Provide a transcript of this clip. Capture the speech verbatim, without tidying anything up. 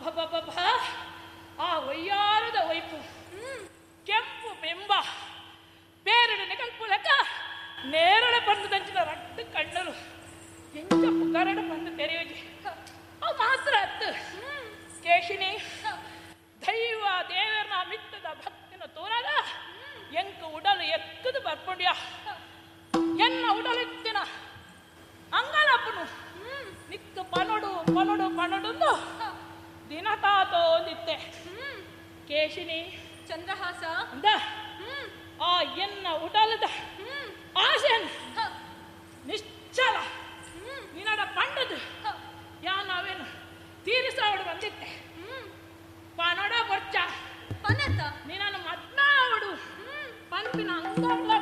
ಅಬ್ಬಬ್ಬಬ್ಬ ಆ ಒಯ್ಯಾರದ ಒಯ್ಪು ಕೆಂಪು ಬೆಂಬ ಪೇರಡು ನಿಕಲ್ಪುಲಕ ನೇರಳೆ ಬಂದು ದಂಚಿನ ರಡ್ಡು ಕಣ್ಣಲು ಎಂಚ ಪುಕರಡು ಬಂದು ತೆರೆಯುಜಿ ಅವು ಮಾತ್ರ ಅತ್ತು ಕೇಶಿನಿ ದೈವ ದೇವರನ ಮಿತ್ತದ ಭಕ್ತಿನ ತೋರಾಗ ಎಂಕ ಉಡಲು ಎಕ್ಕದು ಬರ್ಪುಂಡ್ಯ ಎನ್ನ ಉಡಲಿತ್ತಿನ ಅಂಗಲಪ್ಪನು ನಿಕ್ಕ ಪನೊಡು ಪನೊಡು ಪನೊಡುಂದು ದಿನ ತಾತೋ ಒಂದಿತ್ತೆ ಕೇಶಿನಿ ಚಂದ್ರಹಾಸ ಅಂದ ಆ ಎನ್ನ ಉಡಲದ ಆಸೆನ್ ನಿಶ್ಚಲ ನಿನ್ನಡ ಪಂಡದು ಯಾ ನಾವೇನು ತೀರಿಸಾವಡು ಬಂದಿತ್ತೆ ಪನೊಡ ಬೊರ್ಚ ಪನತ ನಿನ್ನನ್ನು ಮದ್ನಾವಡು ಪನ್ಪಿನ ಅಂಗಲ್ಲ